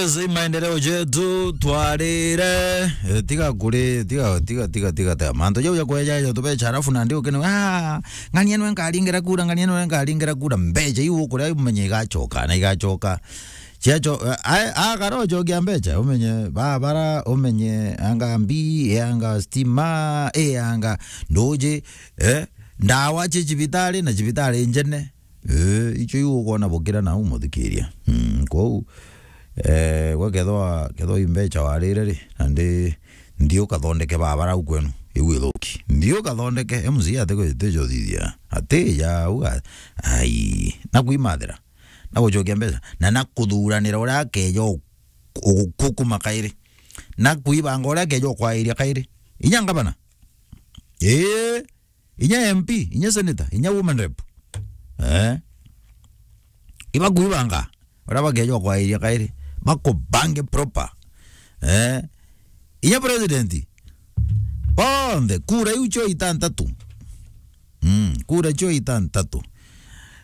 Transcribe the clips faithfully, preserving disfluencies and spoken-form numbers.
Zi maendeleo jetu twarire. Eh, tiga kuri, tiga, tiga, tiga, tiga, tiga. Mantu jau ja kweja jo tubecha, alafu nandi ukene, "Ah, ng'ania nwe nkaringira kura, ng'ania nwe nkaringira kura." Mbecha iu ukuria umenye igachoka, na igachoka. Ciacho-, a, a, akara uchokia mbecha, umenye barabara, umenye anga mbi, anga stima, e anga nduji, eh, ndawa cia cibitari na cibitari njene. Eh, icio iu ukwona bukira nau muthikiria. Mm, kwou, eh, gwe kethwa, kethwa i mbecha warire ri, nandi nthi ukathondeke barabara au kwenu, iu ithuki. Nthi ukathondeke, M C A ati kwi-, ati jo thithia. Ati ja uga, ai, na kwimathira, na gucokia mbeca, na na kuthuranira uria akeja u-, u-, kukuma kairi, na kwibanga uria akeja ukwairia kairi. Inya ngabana. Ii. Inya M P, inya senator, inya woman rep. Eh? Ibakwibanga. Uria bakeja ukwairia kairi. Bakubange proper. Eh? Inya president. Bonthe, kura iu cio itantatu. Mm, kura cio itantatu.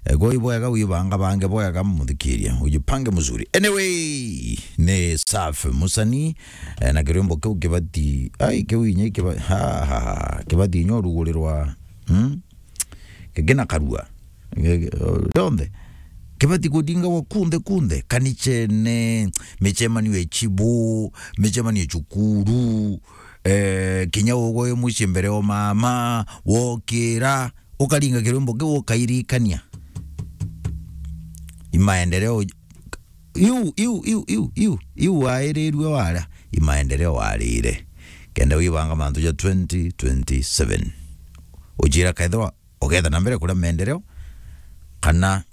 Eh, kwa ibwega wibanga bange bwega muthikiria. Ujipange mzuri. Anyway, ni safi musani, eh, na kirwimbo kiu kibati, ai, kiu inya kiba-, ha, ha, ha, kibati inya urugurirwa, mm? Kigina karua. Ge-, ge-, rionthe. Kibati kudingagwa kunthe, kunthe. Kanichene, michemanio ya chibu, michemanio ya chukuru, eh, kinya ugwe mucii mbere o mama, wokira, ukaringa kirwimbo kiu ukairikania. Imaendeleo iu, iu, iu, iu, iu, iu wairirue waria, imaendeleo warire. Kenda wibanga mantu ja twenty twenty-seven. Ujira kethirwa ugetha na mbere kuria maendeleo, kana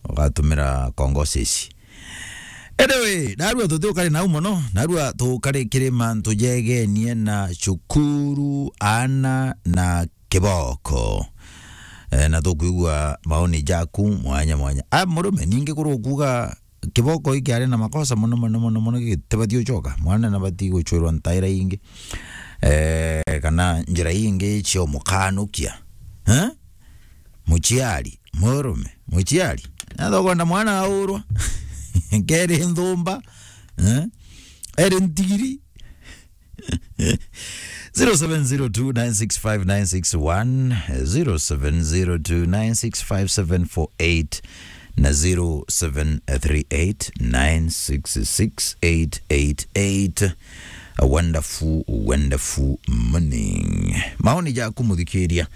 ugatumira kongosisi. Anyway, narua tutiukari nau mono, narua tukari kiri mantu jegenie na cukuru, ana na kiboko. Eh, na tukwigua maoni jaku mwanya mwanya. A, murume, ningi kuru kuga kiboko iki ari na makosa mono, mono, mono, mono, gitibati ucoka. Mwana nabati gucwirwa ntaira ingi. Eh, kana njira ingi cia umukanukia. Eh? Muciari, murume, muciari. Nathokwenda mwana aurwa. Keri nthumba. Eh? Eri ntigiri. Zero seven zero two nine six five nine six one, zero seven zero two nine six five seven four eight na zero seven three eight nine six six eight eight eight. A wonderful, wonderful morning. Maoni jaku muthikiria,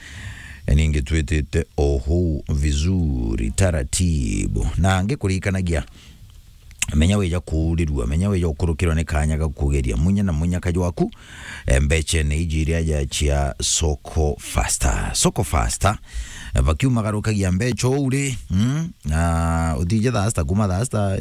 ningi twitite oho vizuri, taratibu. Na ngikurikanagia, menya wija kuurirua, menya wija ukurukirwa ni kanya ga kugeria munya na munya kaju waku, eh, mbechene iji iria ja cia Soko Faster. Soko Faster, eh, bakiumagarukagia mbecha uu ri, mm, na utije thaa sita, kuma thaa sita,